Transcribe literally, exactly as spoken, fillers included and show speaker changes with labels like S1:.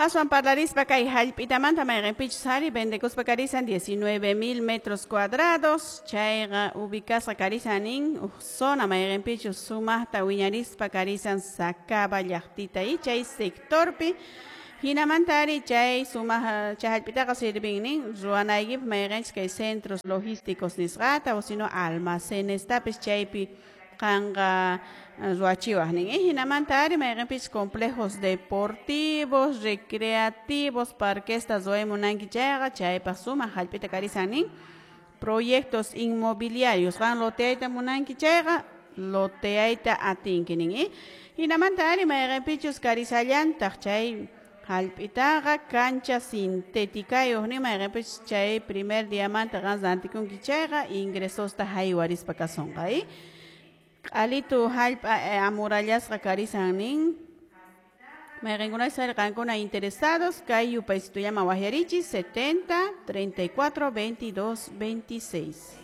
S1: Aswan parlarispa kay hallp'itamanta mayqinpichus ari vendekuspa karisan diecinueve mil metros cuadrados chayqa ubicasqa karisan nin uj zona mayqinpichus sumaqta wiñarispa karisan Sacaba llaqtita y chay sectorpi. Hinamanta ari chay sumaq chay hallp'itaqa sirvin nin ruwanaykipaq mayqinchis kay centros logísticos nisqata o sino almacenestapis chaypi qanqa ruwachiwaq nin. Hinamanta ari mayqinpichus complejos deportivos, recreativos, parquesta ruway munanki chayqa chaypaq sumaq hallp'ita karisan nin. Proyectos inmobiliarios qan loteayta munanki chayqa loteayta atinki nin. Hinamanta ari mayqinpichus karisallantaq chay hallp'itaqa cancha sintéticayuq nin mayqinpichus chay primer diamanta qan rantikunki chayqa ingresosta haywarispa kasunqa. Q'alitu hallp'a amurallasqa karisan nin. Mayqinkunachus ari qankuna interesados kay yupaysitullaman waqyarichis setenta, treinta y cuatro, veintidós, veintiséis.